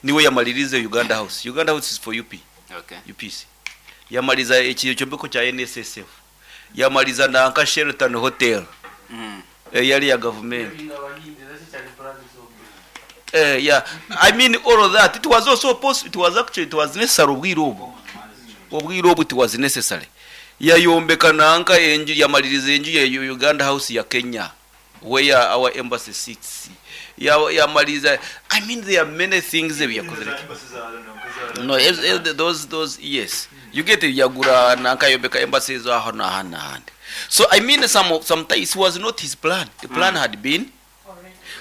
Niwe yamalirize Uganda House. Uganda House is for UP, Okay. UPC. Yamaliza ekyombeko kya NSSF. Yamaliza nanka Sheraton Hotel eyali ya gavumenti. Eh, yeah. I mean all of that. It was also possible. It was actually it was necessary obwire obwo. Obwire obwo it was necessary. Yayombeka nanka enju yamaliriza enju ya Uganda House ya Kenya where our embassy sits. Ya yamaliriza I mean there are many things ebi yakozere. No, those yes. You get it, yagura nanka yombeka embassy zo aho na handi n'ahandi. So I mean sometimes it was not his plan. The plan had been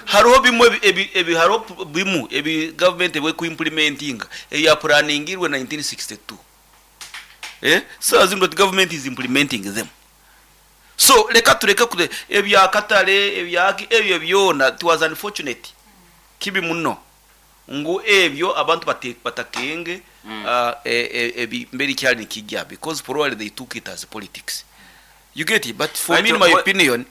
hariho bimwe ebi hariho bimu ebi government ebwe ku implementing eya planingirwe 1962 so as the government is implementing them so leka tureke kure ebya katale ebyaki ebyo byona it was unfortunate kibi muno ngu ebyo abantu batakenge ebi mberi kyali nikijja because probably they took it as politics you get it but for me in my opinion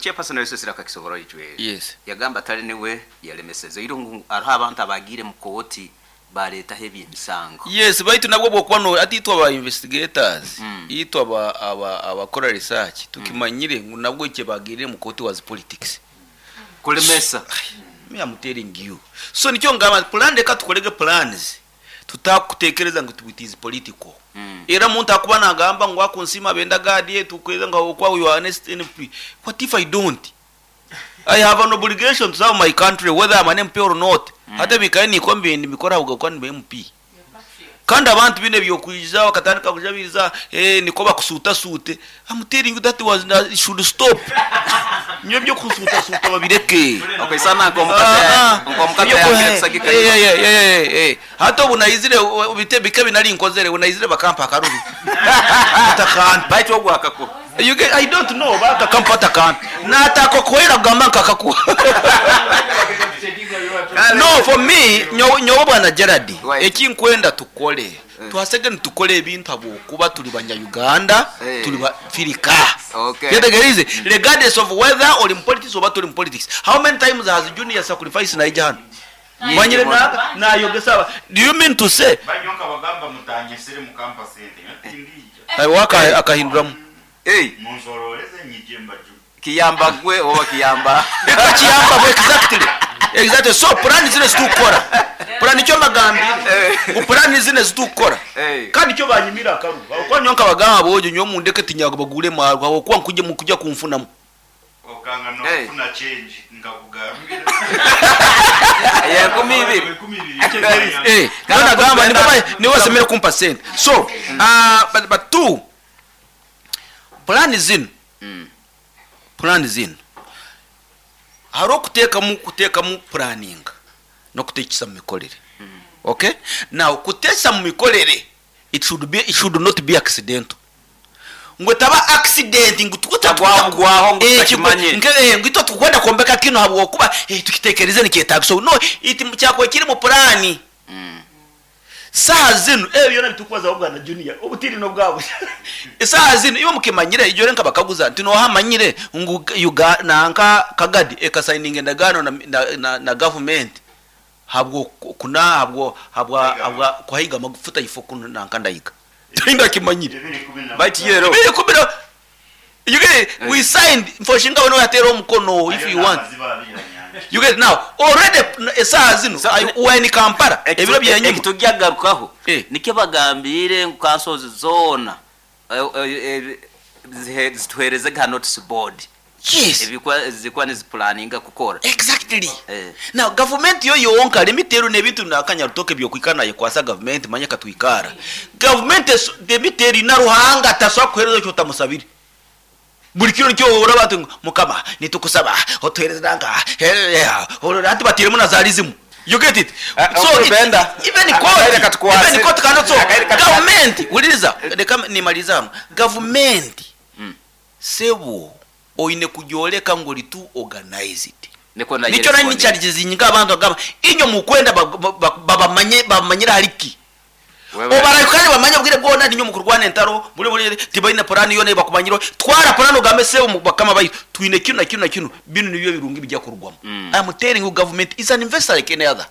Chairperson wesesera kakisobora icwe yes yagamba tali niwe yalemeseze iro ngu hariho abantu abagire mu kooti baretaho ebyemisango yes baitu nabwo bwokuba no ati itwe aba investigators itwe aba aba abakora research tukimanyire ngu nabwo icyo bagirire mu kooti was politics kulemesa me I'm telling you so nicyo ngamba plan reka tukorege plans tutakutekereza ngu it is political era muntu akuba nagamba ngu akunsima benda gadi tukweza nga okwa you are honest MP what if I don't I have an obligation to serve my country whether I'm an MP or not hata bikaye niko mbindi mbikora ahubwo ni MP kandi abantu bine byokwija bakatandika kujabiriza niko bakusuta sute I'm telling you that was that should stop nyo byo kusuta suta babireke okay sana nko mukate yange kusagika hata ubu naizire bite bike binari nkozere unayizire bakampa akaruru atakantu baitu ogwakako you get I don't know bakakampa atakantu natako kwera kugamba nkakakuha no for me nyowe bwana Gerard ekinkwenda tukole twasege nitukole ebintu habwokuba tuli banya-Uganda tuli bafirika yetegerize regardless of whether ori mu politics oba turi mu politics how many times has Junior sacrifice naija hano manyire nayogesa do you mean to say banyonka bagamba mutanyesere mu campus ente waka akahinduramu munsororeze nyije mbaju kiyamba gwe oba kiyamba eka kiyamba bwe exactly so plan zine zitukora plan icyo magambire ngo plan zine zitukora kandi icyo banyimira akaru kwa nyonka bagamba bojo nyo mundeke tinyago bagure marwa aho kwa nkuje mukujya kumfunamo okanga no kufuna change ngakugambira ya 12 nona gamba ni basemere kumpa sente so but two plan zino plan zino hariho kutekamu planning no kutekesa mu mikorere okay now kutesa mu mikorere it should not be accidental ngo taba accident ngo tukutagwaho ngo tutakimanye ngo ito tukwenda kombeka kino habwo kuba tukitekereze nikyetaga so no it cyakwe kiri mu plan saha zino ebyo nabitukubaza ahubwo na Junior ubutiri no bwabo saha zino iyo mukimanyire ijyo renka bakaguza nti no hamanyire ngo nanka kagadi eka signing endagano na government habwo kuna habwo habwa habwa kwahiga magufuta ifoku nanka ndayiga tinda kimanyire bati yero biri you get we signed for shinga wono yatera omukono if you want you get now already esaha zino we ni Kampala ebiro bya nyuma ekitugyagarukaho nikyo bagambire nkansozi zona zituhereze ga notice board yes ebikwa zikwa niziplaninga kukora exactly now government yo yonka limiteru nebintu nakanya rutoke byokwikana yekwasa government manya katwikara government demiteri na ruhanga taswa kuhereza cyo tamusabire buri kiro cyo ora batu mukama nitukusaba otuhereza nanga ati batiremo na zarizimu you get it so it, even court cannot so government uliriza reka nimaliza government sebo oine kujoleka ngo litu organize it nicyo nari nicharges abantu agamba inyo mukwenda babamanye babamanyira hariki obarayukane bamanye bwire bwona ninyo mukurwana entaro buri buri tibaine plan yo ne bakumanyiro twara plan ugambe se bakama bayi twine kino na kino na kino bino nibyo birungi bijya kurugwamo I am telling you government is an investor like any other.